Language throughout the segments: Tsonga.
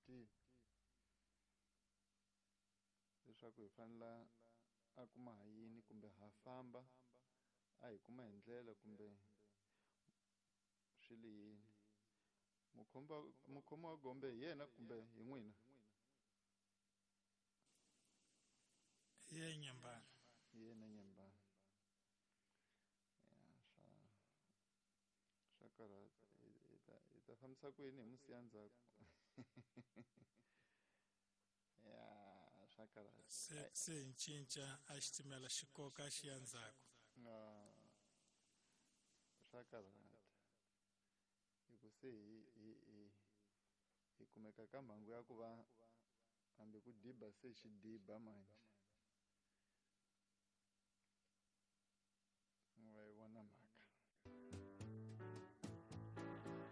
Tivi leswaku hi fanela a kuma ha yini kumbe ha famba a hi kuma hi ndlela kumbe swi li yini. Mukhomi wa gombe hi yena kumbe hi n'wina? Hi yena Nyembani. Hi yena Nyembani. Ya, swa karhata. Hi ta fambisa ku yini hi musiya ndzhaku? Ya, swa karhata. Se hi cinca a xitimela xi koka xi ya ndzhaku. Swa karhata. Hi ku se hi kumeka ka mhangu ya ku va hambi ku diba se xi diba manje. Wa yi vona mhaka.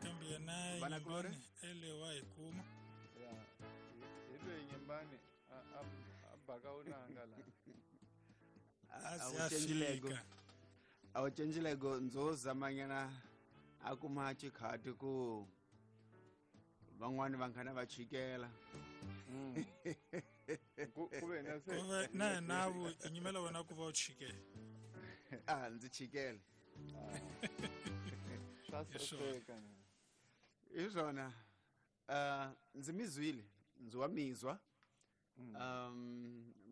Kambe yena Vana kulorhi? Nyembani ele wa hi kuma. Ya, hi loyi Nyembani a baka unanga la. A A ze wu a cincilego. fika. A wu cincilego ndzo zamanyana a kuma xikhati ku van'wani vanghana va chikela. Ku ve na se Ku ve na hina vu hi nyimela wena ku va u chikela. A ndzi chikele. Swa Hi swona. saseka. Hi swona. Ndzi mi zwile, ndzi wa mizwa.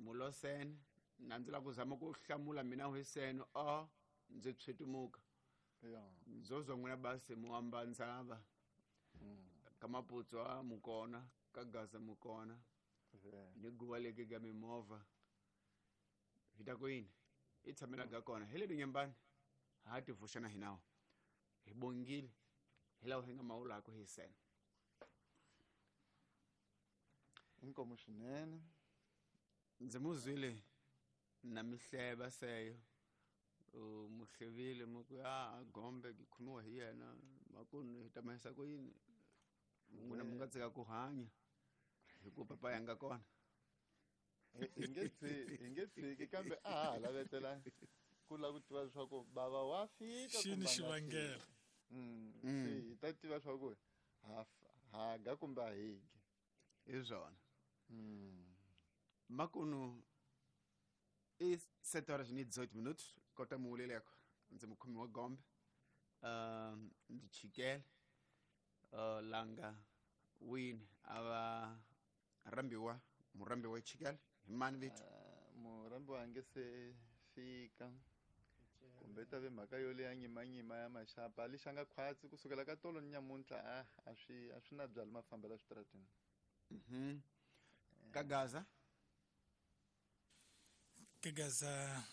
Mulosene na ndzi lava ku zama ku hlamula mina hiseno o ndzi tshwitumuka. Ndzo zwa n'wina basi muamba ndzava. Ka Maputswa mukona, ka Gaza mukona. Ni guva leke ka mimovha. Hi ta ku yini? I tshamela ga kona. Hi le Nyembani. Ha ti vuxana hi nawu. Hi bongile. Hi lawa hi nga mawulako hi sena. Inkomo swinene. Ndzi mu zwile na mihleva seyo. Mu hlevile mu ku ya gombe ki khomiwa hi yena makunu hi ta mahisa ku yini? N'wina mi nga tshika ku hanya hi ku papa ya nga kona. Hi nge tshiki, hi nge tshiki kambe a ha ha lavetela ku lava ku tiva leswaku bava wa fika Xi ni kumbe a nga xivangelo. fiki. Se hi ta tiva leswaku ha ga kumbe a hi gi. Hi swona. Makunu i sete horas ni 18 minutos kota muwuleleko ndzi mukhomi wa gombe. Ndzi chikele. Langa wini a va rhambiwa, murhambiwa i chikele hi mani vito? Murhambiwa a nge se fika. Kumbe ta ve mhaka yo leya nyimanyima ya maxapa lexi nga khwatsi kusukela ka tolo ni nyamuntlha a swi na byali mafambela switarateni. Ka Gaza? Ka Gaza,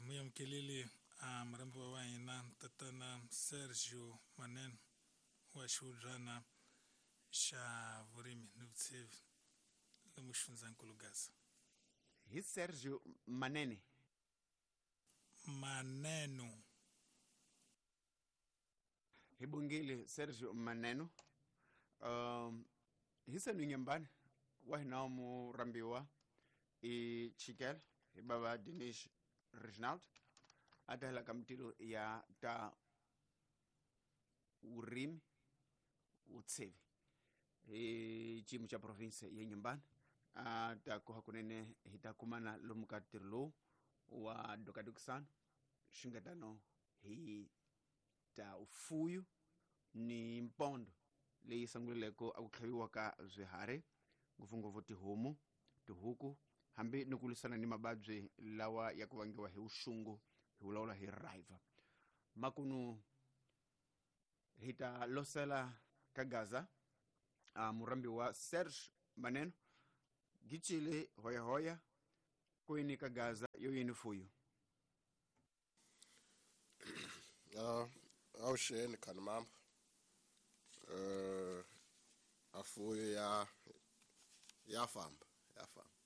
muyamukeleli a murhambiwa wa hina tatana Sergio Manene wa xihubyana xa vurimi ni vutshevi lomu xifundzankulu Gaza. Hi Sergio Manene. Maneno. Hi bongile Sergio Maneno. Hi senu Nyembani wa hina murhambiwa i chikele hi bava Dinesh Reginald a ta hela ka mitilo ya ta vurimi vutshevi hi xiyimo xa province ya Nyembani. A ta ku hakunene hi ta kumana lomu ka ntirho lowu wa dokadokisano swi nga tano hi ta ufuyu ni mpondo leyi sunguleleko a ku tlhaviwa ka swiharhi ngopfungopfu tihomu, tihuku hambi ni ku lwisana ni mavabyi lawa ya ku vangiwa hi vuxungu hi vulavula hi river. Makunu hi ta losela ka Gaza a murhambi wa Serge Maneno gicile hoyahoya kwini ka Gaza yo yini fuyu. Awuxeni khani mama. Afuyo ya famba, ya famba.